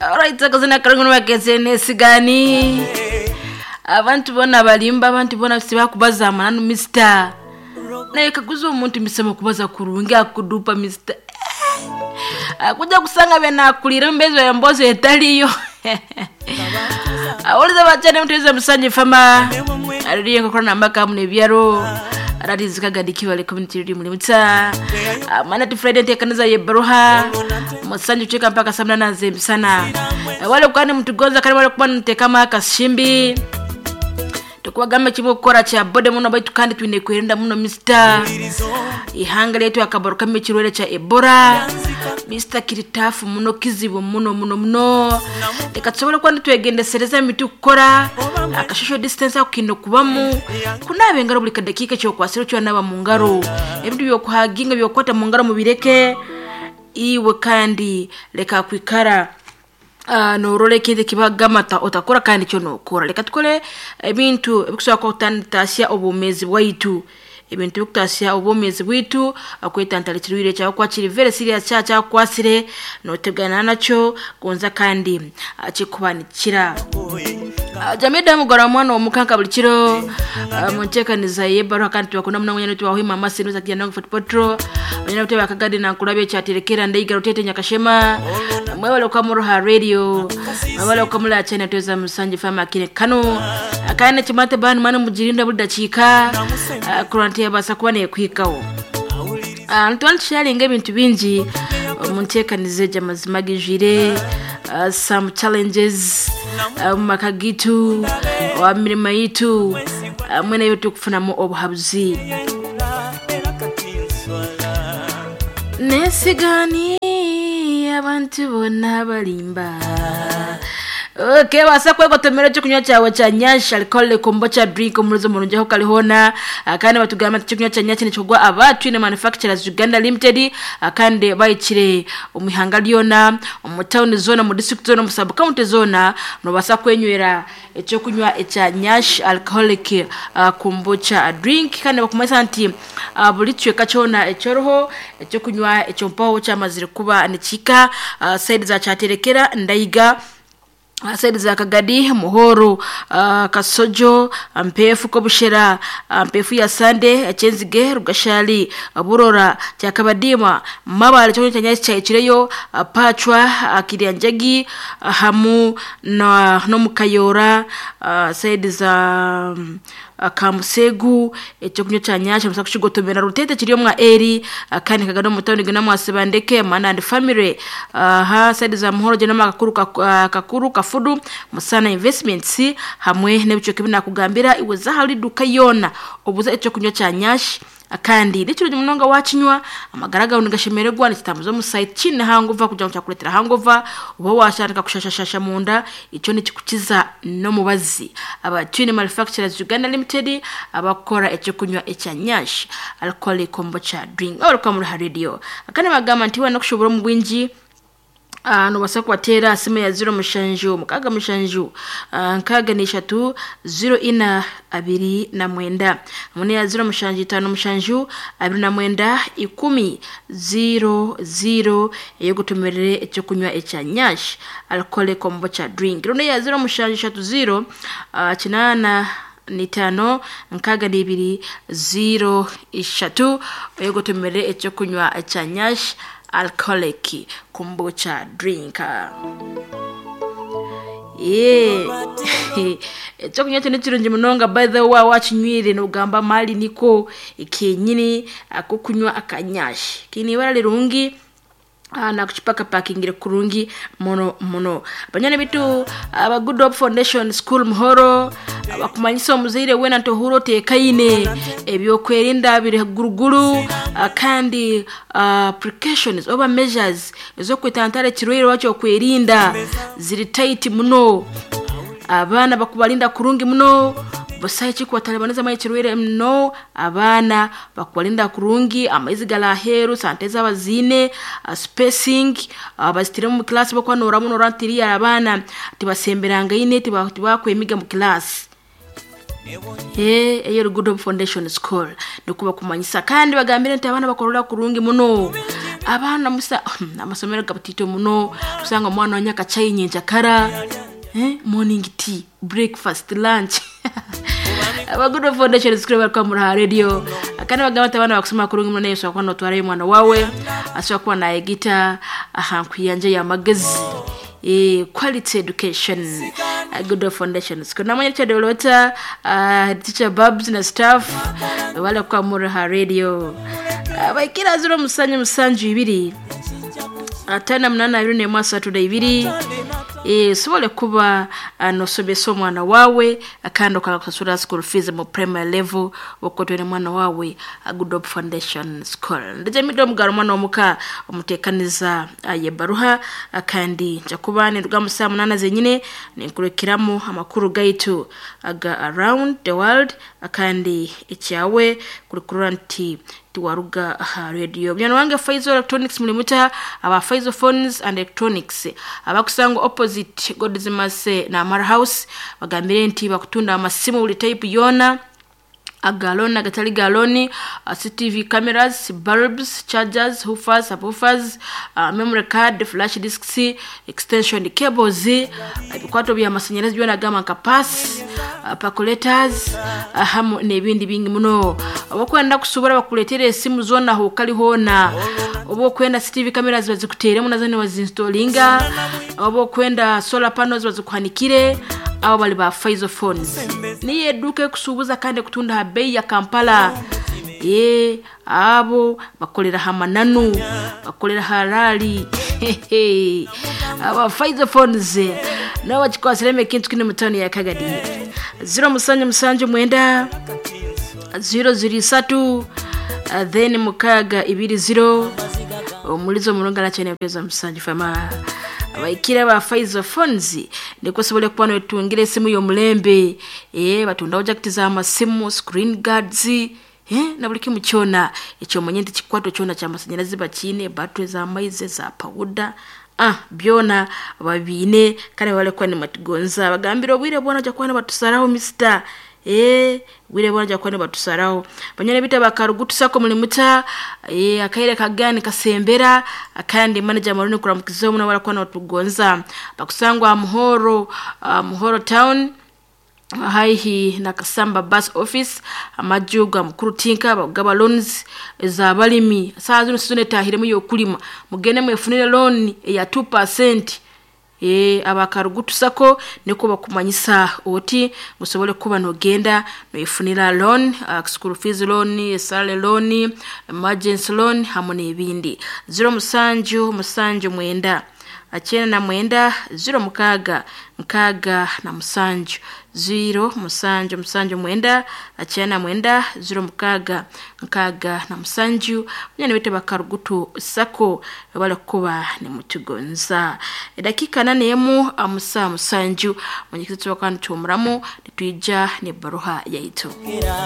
Alright, akazina karungu nibakeze nesigani. Abantu bona balimba, abantu bona sibakubaza amananu Mr. Naye kaguza omuntu misema kubaza kurungi akudupa Mr. Akuja kusanga byenakulira mbezo ya mbozo etaliyo. Awuliza bachane mtuiza musanje fama. Aririye kokora nambaka mune byaro. Aratizikagadikiwa le community radio mulimutsa. Mana ti Friday ntekaniza ye baruha. Musanje ucheka mpaka saa mnana zemsana. Wale kwani mtugonza kani wale kubana ntekama kashimbi. Tukuwagamba chimo kukora cha bode muno baitu kandi twine kwerinda muno Mr. Ihanga letu akabaruka ekirwaire kya Ebola. Mr. Kiritafu muno kizibu muno muno muno. Reka tusobole kuba nitwegendesereza emiti kukora aka social distance ako kiine kubamu kunaaba engaro buri kadakiika ekyokwasire okyonaaba mu ngaro ebintu byokuhaginga byokukwata mu ngaro mubireke iwe kandi reka kwikara norora ekintu ekibagamba otakora kandi kyo nokora reka tukore ebintu ebikusobora kutasya obwomeezi bwaitu ebintu ebikutasya obwomeezi bwaitu okwetantara ekirwaire kyakuba kiri very serious kyaba kyakukwasire notegana nakyo gonza kandi kikuba nikikira. Jamida mugora mwana omukanka buli kiro munteekaniza y'ebbaruha kandi tubakunda muno mwenya tubahuima amasi nuza kijana wangu Fort Potro banyana bute bakagadi na nkulabye kyaterekera ndeiga rutete nyakashema mwebale okamuruha radio mwebale okamula china tuweza musanje fama kine kano akana chimate banu manu mujirinda buli dakiika kuranti yabasa kuba nekwikawo. Nitwali tusharinga ebintu bingi omunteekaniza egyo amazima gijwire some challenges mu maka gitu omu mirimo yitu hamwe n'ebi turikufunamu obuhabuzi. Nesigani abantu boona balimba. Okay, basa kwegotomera ekyokunywa kyawe kya nyashi alcoholic kombucha drink omuruzi murungi aho kari hoona kandi batugamba nti ekyokunywa kya nyashi nikigwa aba Twine Manufacturers Uganda Limited kandi bahikire omu ihanga ryona omu tawuni zoona omu district zoona omu sub county zoona nobaasa kwenywera ekyokunywa ekya nyashi alcoholic kombucha drink kandi bakumanyisa nti buri kicweka kyona ekyoriho ekyokunywa ekyo mpaho kyamazire kuba nikihika sayidi za Kyaterekera, Ndaiga, sayidi za Kagadi, Muhoro, Kasojo, Mpeefu, Kobushera, Mpeefu ya Sande, Kyenzige, Rugashali, Burora, Kyakabadima, Mabale ekyokunywa kya nyashi kyahikireyo, Pachwa, Kiryanjagi, hamu na n'omu Kayora, sayidi za Kamusegu, ekyokunywa kya nyashi nobaasa kukigotomera Rutete kiri omwa Eri, kandi kagari omu tawuni gina Mwasibandeke, Mana and Family, sayidi za Muhoro gina Kakuru, Kakuru, Kafudu, Musana Investments, hamwe n'ebicweka ebi nakugambira iwe za ahari duka yoona obuze ekyokunywa kya nyashi kandi nikirungi munonga wakinywa amagara gawe nigashemererwa nikitambuza omusaayi tikiine hangover kugira ngu kyakureetera hangover oba washandika kushashashasha munda ekyo nikikukiza n'omubazi. Aba Twine Manufacturers Uganda Limited abakukora ekyokunywa ekya nyashi alcoholic kombucha drink abarikuba muri aha radio. Kandi bagamba nti waaba nokushobora omu bwingi nobaasa kubateera aha simu ya 07 67 63 04 29 hamwe n'eya 0757 29 10 00 ey'okutumirire ekyokunywa ekya nyashi alcoholic kombucha drink. Reero n'eya 0730 85 62 03 ey'okutumirire ekyokunywa ekya nyashi alcoholic kombucha drink. Ekyokunywa ekyo nikirungi munonga by the way waaba wakinywire nogamba mali niko kenyini akokunywa akanyashi kiine ibara rirungi nakukipakapakingire kurungi muno muno. Banywani baitu aba Good Hope Foundation School Muhoro bakumanyisa omuzaire weena nti ohuure oteekaine ebyokwerinda biri guruguru kandi precautions oba measures ez'okwetantara ekirwaire oba ekyokwerinda ziri tight muno. Abaana bakubarinda kurungi muno busaho ekikubataribanizamu ekirwaire no abaana bakubarinda kurungi amaizi gari aheeru sanitizer baziine spacing bazitiire omu class bokuba noramu norora nti iriya abaana tibasemberangaine tibakwemiga omu class. Eyo Good Hope Foundation School nikuba kumanyisa kandi bagambire nti abaana bakorora kurungi muno. Abaana musa amasomero gabutito muno, usanga omwana wanya akachai nyenjakara, morning tea, breakfast, lunch. Aba Good Hope Foundation School barikuba muri aha radio. Kandi bagamba nti abaana bakusoma kurungi muno, naye osobola kuba notwarayo omwana wawe, asobola kuba nayegita aha nkuyanja y'amagezi. Quality education, Good Hope Foundation School. Namanya Richard Olota, teacher Babs na staff bale kwa muri ha radio. Baikira 0 7 2 5 8 2 1 3 2. Sobole kuba nosomesa omwana wawe kandi okanga kusasura school fees mu primary level okotwere mwana wawe Good Hope Foundation School. Ndije mido omugaro omwana omuka omutekaniza yebaruha, kandi nja kuba ninduga mu saa 8 zenyine ninkurekeramu amakuru gaitu aga around the world, kandi ekyawe kurikurura nti tiwaruga aha radio. Mnyana wange Faizo Electronics mulimuta aba Faizo Phones and Electronics abakusanga opposite Godzimase na Amara House, bagambire nti bakutunda amasimu buli type yona, agaloni agatali galoni, CCTV cameras, bulbs, chargers, woofers, subwoofers, memory card, flash disks, extension cables, ebikwato bya masanyalazi byona gamba nka pass, percolators, hamu n'ebindi bingi muno. Oba kusubura bakuletere esimu zona aho kali hona, oba okwenda CCTV cameras bazikuteremu nazo nibazinstalinga, oba okwenda solar panels bazikuhanikire. Abo bali ba Faizo Phones niyo eduka ekusuubuza kandi ekutunda ha bei ya Kampala. Abo bakolera ha mananu, bakolera harali. Aba Faizo Phones nabo bakikwasiremu ekintu kini mu tawuni ya Kagadi. 0 7 7 9 0 0 3 then 6 2 0 omulizo omulungi arakyene kugeza musanju fama. Abaikira ba Faizo Phones niko sobole kuba notungira esimu y'omulembe. Batundaho jacket z'amasimu, screen guards, na buli kimu kyona ekyomunye nti kikwato kyona ky'amasanyalazi bakiine, battery z'amaizi, za powder, byona babiine kandi bale kuba nimatugonza. Bagambire obwire bwona ojja kuba nibatusaraho mister. Bwire bwona ojja kuba nibatusaraho. Banyana bita bakarugutusako mulimuta, akaire kagani kasembera, kandi manager Maruni kuramukiza omuno barakuba nibatugonza. Bakusangwa Muhoro, Muhoro town haihi na Kasamba bus office, amaju ga mukuru tinka bagaba loans za balimi. Saa zino sizone tahiremu yokulima, mugende mwefunire loan ya 2%. Abakarugutusako niko bakumanyisa oti musobole kuba nogenda noifunira loan, school fees loan, salary loan, emergency loan hamwe n'ebindi. 0 7 7 9 99 0 6 6 7 0 7 7 9 99 0 6 6 7. Munyana bete bakarugutu sako bale kuba nimutugonza. Edakika 8 emu amusa musanju munyikitso kandi tumuramu nitwija ne baruha yaitu.